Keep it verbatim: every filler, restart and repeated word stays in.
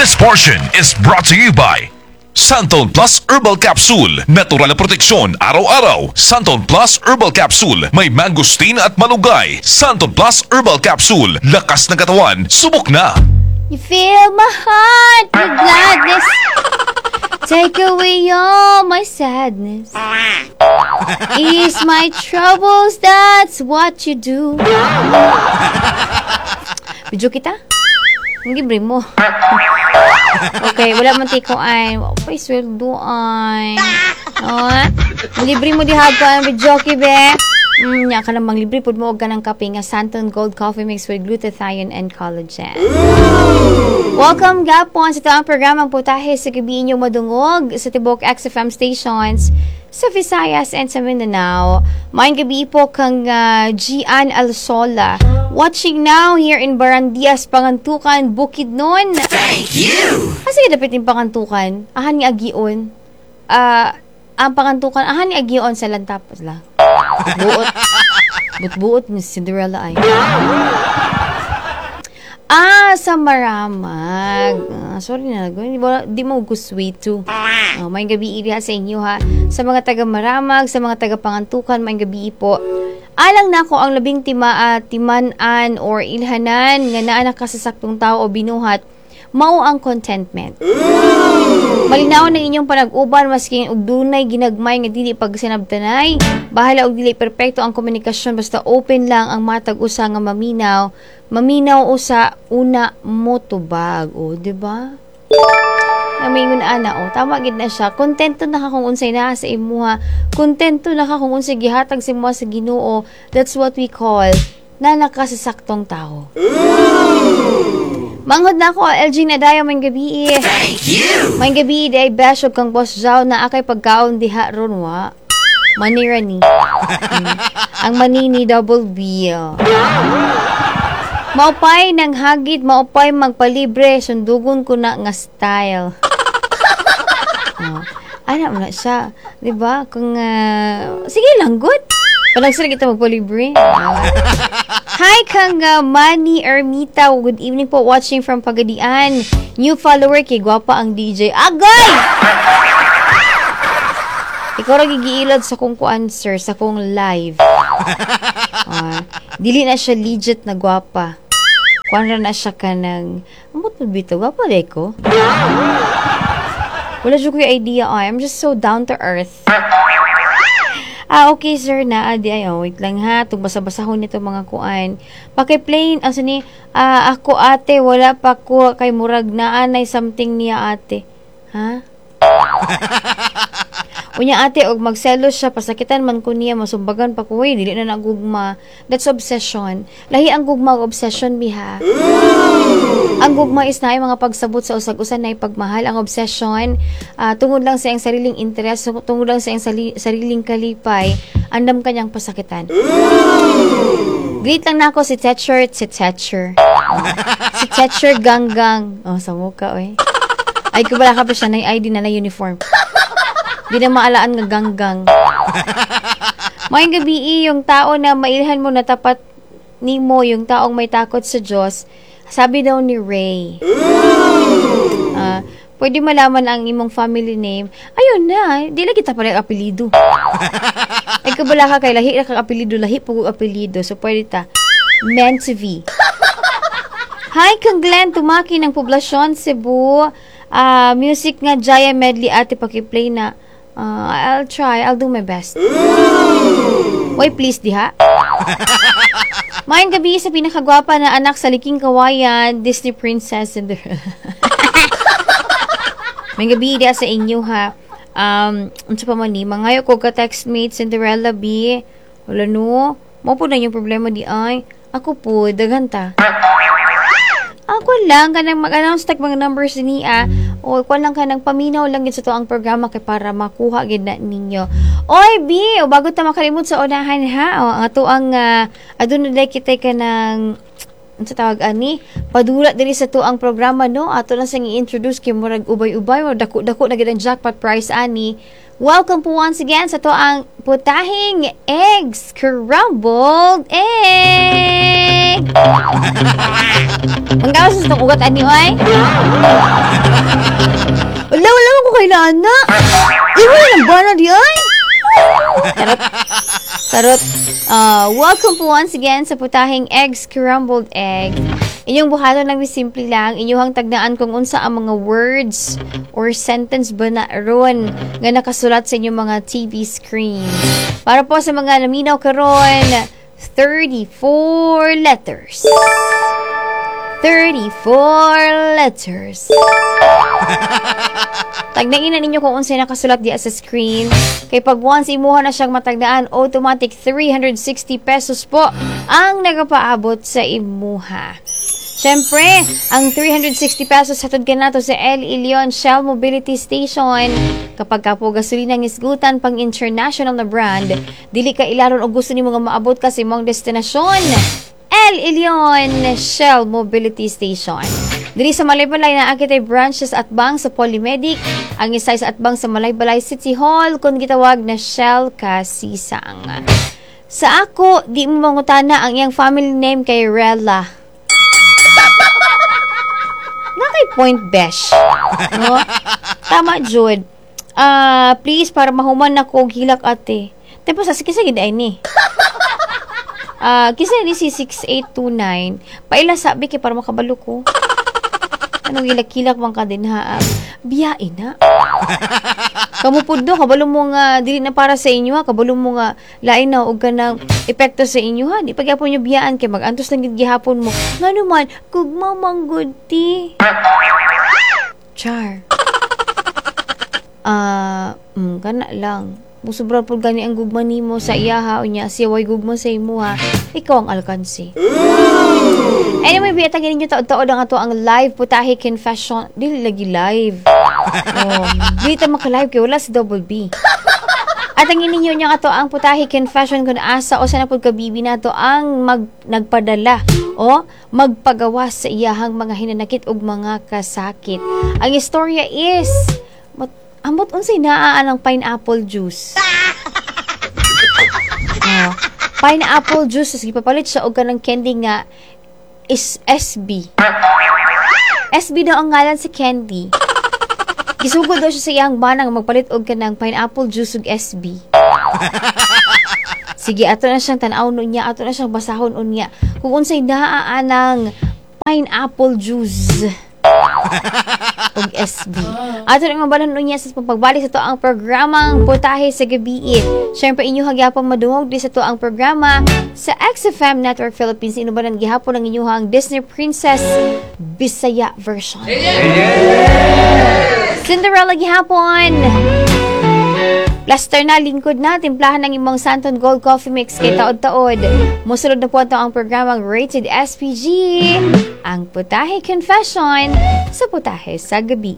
This portion is brought to you by Santon Plus Herbal Capsule. Natural na proteksyon araw-araw. Santon Plus Herbal Capsule. May mangosteen at malunggay. Santon Plus Herbal Capsule. Lakas ng katawan. Subok na. You fill my heart with gladness. Take away all my sadness. Ease my troubles, that's what you do. Video kita? Ang libre mo. Okay, wala man ti ko ay. Wa pa'y sweldo ay. Oh, libre mo diha ko ang video be. Mm, nya ka namang libre pud mo og kanang kape nga Santon Gold Coffee Mix with glutathione and collagen. Welcome gapon sa atoang programang Putahe sa Gabi, inyong madungog sa tibok X F M stations sa Visayas and sa Mindanao. Maayong gabi po kang uh, Gian Alsola. Watching now here in Barandias, Pangantukan, Bukidnon. Thank you! Asa ah, dapit yung Pangantukan? Ahan ni Agion. Ah, ang Pangantukan, ahan ni Agion sa Lantapos lang. Buot. Buot-buot ni Cinderella ay. Ah, sa Maramag. Ah, sorry na. Di, ba, di mo ko sweet too. Oh, maayong gabi iriha sa inyo ha. Sa mga taga Maramag, sa mga taga Pangantukan, maayong gabi po. Alang nako, ang labing tima, uh, timan-an or ilhanan nga naa na ka sa saktong tao o binuhat, mao ang contentment. Malinaw ng inyong panag-uban maski og dunay ginagmay nga dili pagsinabtanay. Bahala og dili perpekto ang komunikasyon, basta open lang ang matag usa nga maminaw. Maminaw usa una mo tubag. O, di ba? Nga maingon ana, o tama gid na siya. Kontento na ka kung unsay naa sa imuha. Kontento na ka kung unsay gihatag sa imuha sa Ginoo. That's what we call na nakasasaktong tao. Manghod na ako, L G Nadayo, maayong gabi. Thank you! Maayong gabi, di ay bash kang Boss Zhao na akay pagkaon diha ron wa. Manira ni. Mm. Ang manini double B. Oh. Maupay ng hagit, maupay magpalibre, sundugon ko na nga style. Oh. Ana mo na siya, 'di ba? Kung uh, sige lang good. Panagsa kita magpalibre. Oh. Hi kang uh, Manny Ermita. Good evening po, watching from Pagadian. New follower kay gwapa ang D J. Agay! Ikaw ra gigiilad sa kong kuan, sir, sa kong live. Uh, dili na siya legit na gwapa. Kuan ra na siya kanang amot mo bitaw gwapa de ko. Wala jud ko idea ay. I'm just so down to earth. Ah, okay sir na adi ay, oh, wait lang ha, tung basa-basahon nito mga kuan. Paki-play asa ni ah, ako ate, wala pa ko kay murag naa nay something niya ate. Ha? Unya ate, og magselos siya, pasakitan man ko niya, masumbagan pa ko, uy, dili na nagugma. That's obsession. Lahi ang gugma og obsession biha. Ang gugma is naay mga pagsabot sa usag-usa, na pagmahal. Ang obsession, uh, tungod lang sa iyang sariling interes, tungod lang sa iyang sali- sariling kalipay, andam kanyang pasakitan. Greet lang nako si Tetcher, si Tetcher. Oh. Si Tetcher Ganggang. Oh, sa muka, oy. Ay, kubala ka pa siya, na I D na na uniform. Di na maalaan nga ganggang. Maayong gabi, yung tao na mailhan mo na tapat nimo, yung taong may takot sa Diyos, sabi daw ni Ray. Uh, pwede malaman ang imong family name? Ayun na, di lagi ta pala apelido. Ay, kabala ka kay lahi ra kang apelido, lahi po apelido. So, pwede ta. Meant to be. Hi, kang Glenn Tumaki ng Poblacion, Cebu. Uh, music nga Jaya Medley ate, paki-play na. Uh, I'll try. I'll do my best. Why, please, diha? Maayong gabi sa pinakagwapa na anak sa Liking Kawayan, Disney Princess Cinderella. Maayong gabi diha sa inyo ha. Um, unsa pa man ni mangayo ko ka textmate Cinderella B. Wala no. Mao po na yung problema di ay. Ako po, daghan ta. Ako lang, kanang mag-announce tag mga numbers niya. O, kuan lang, kanang paminaw lang gid sa to ang programa kay para makuha gid na ninyo. Oy, B, o bago ta makalimot sa unahan ha. O, ang ato ang uh, aduna day kitay kanang unsa tawag ani, padula diri sa to ang programa no. Ato lang sang i-introduce kay murag ubay-ubay o dako-dako na gid ang jackpot prize ani. Welcome po once again sa to ang Putahing Eggs Scrambled Eggs. egg. Manggawas sa itong ugat ani oy. Wala, wala man ko kailangan na. Iwan ng bana di ay. Charot. Charot. Uh, welcome po once again sa putahing egg scrambled egg. Inyong buhaton lang, simple lang. Inyong tagnaan kung unsa ang mga words or sentence ba na ron nga nakasulat sa inyong mga T V screen. Para po sa mga naminaw karon, thirty-four letters. thirty-four letters. Tagnain na ninyo kung unsay nakasulat diya sa screen. Kay pag once imuha na siyang matagnaan, automatic three hundred sixty pesos po ang nagapaabot sa imuha. Siyempre, ang three hundred sixty pesos hatod kanato sa El Ilion Shell Mobility Station. Kapag ka po gasolina ang isgutan pang international na brand, dili ka ilaron og gusto nimo nga maabot ka sa imong destinasyon. El Ilion Shell Mobility Station. Diri sa Malaybalay naa kitay branches atbang sa Polymedic, ang isa sa atbang sa Malaybalay City Hall kung gitawag na Shell Kasisang. Sa ako, di mo mangutana ang iyang family name kay Rella. Nga kay point besh. No? Tama, Jude. Ah, please, para mahuman ako og hilak, ate. Tapos sa sige sige ay ni. Ah, kisa ni si six eight two nine. Paila sabi kay para makabalo ko. Anong hilak-hilak man ka din ha? Biyain na. Kamu pud do, kabalo mo nga dili na para sa inyo ha, kabalo mo nga lain na og kanang epekto sa inyo ha. Di pagyapon nyo biyaan kay magantos lang gid gihapon mo. Ngano man, gugma man gud ti. Char. Ah, mm, kana lang. Musubra pud gani ang gugma nimo sa iya ha, unya siya way gugma sa imo ha. Ikaw ang alkansi. Anyway, biyatagin ninyo taod-taod ang ato ang live putahe confession. Dili lagi live. Oh, dili ta maka-live kay wala si Double B. At ang ininyo niya ato ang putahe confession kung asa o sa na pud kabibi nato ang mag, nagpadala o magpagawa sa iyahang mga hinanakit ug mga kasakit. Ang istorya is mat, ambot unsay naa ang pineapple juice. Oh, pineapple juice tas gipapalit siya og kanang candy nga is S B. S B daw ang ngalan sa candy. Gisugod daw siya sa iyang banang magpalit og kanang pineapple juice ug S B. Sige, ato na siyang tan-awon unya, ato na siyang basahon unya. Kung unsay naa anang pineapple juice ug S B. Ato na mabalan unya sa pagbalik sa to ang programang Putahe sa Gabi. Syempre, inyo hagyapon madungog di sa to ang programa sa X F M Network Philippines. Inubanan gihapon ang inyuhang Disney Princess Bisaya version. Cinderella gihapon. Plaster na, lingkod na, timplahan ng imong Santon Gold Coffee Mix kay taod-taod. Musulod na po ito ang programang rated S P G, ang Putahe Confession sa Putahe sa Gabi.